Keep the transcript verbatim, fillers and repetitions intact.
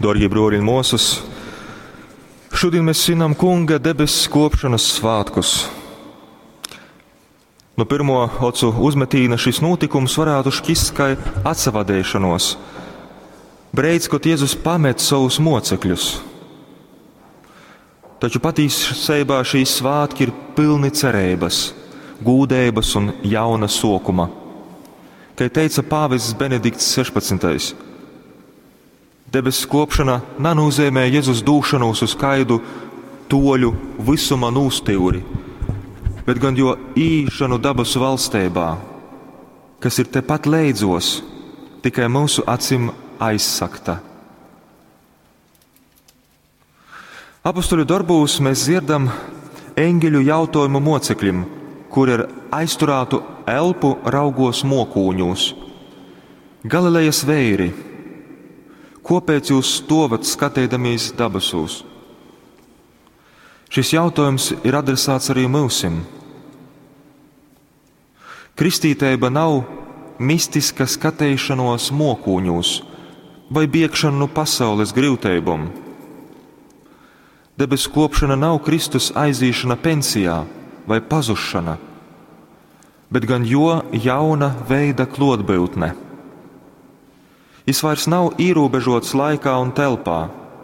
Dārgie broļi un māsas, šodien mēs svinam Kunga debesu kopšanas svētkus. Nu pirmo ocu uzmetīna šis notikums varētu šķist kā atsavadēšanos. Breids, kad Jēzus pamet savus mocekļus. Taču patiesībā šīs svētki ir pilni cerības, gūdības un jauna sokuma. Kā teica pāvests Benedikts sešpadsmitais, debesu kopšana nenozīmē Jēzus dūšanos uz kaidu toļu visuma nūstīvri, bet gan jo īšanu dabasu valstībā, kas ir tepat leidzos, tikai mūsu acim aizsakta. Apostoļu darbūs mēs dzirdam eņģeļu jautājumu mocekļim, kur ar aizturētu elpu raugos mokūņos. Galilejas veiri, kopēc jūs stovat skatīdamies dabasūs? Šis jautājums ir adresēts arī mūsim. Kristīteiba nav mistiska skatīšanos mokūņos vai biegšana no pasaules grūtībām. Debesu kopšana nav Kristus aizīšana pensijā vai pazušana, bet gan jo jauna veida klotbūtne. Jis vairs nav ierobežots laikā un telpā,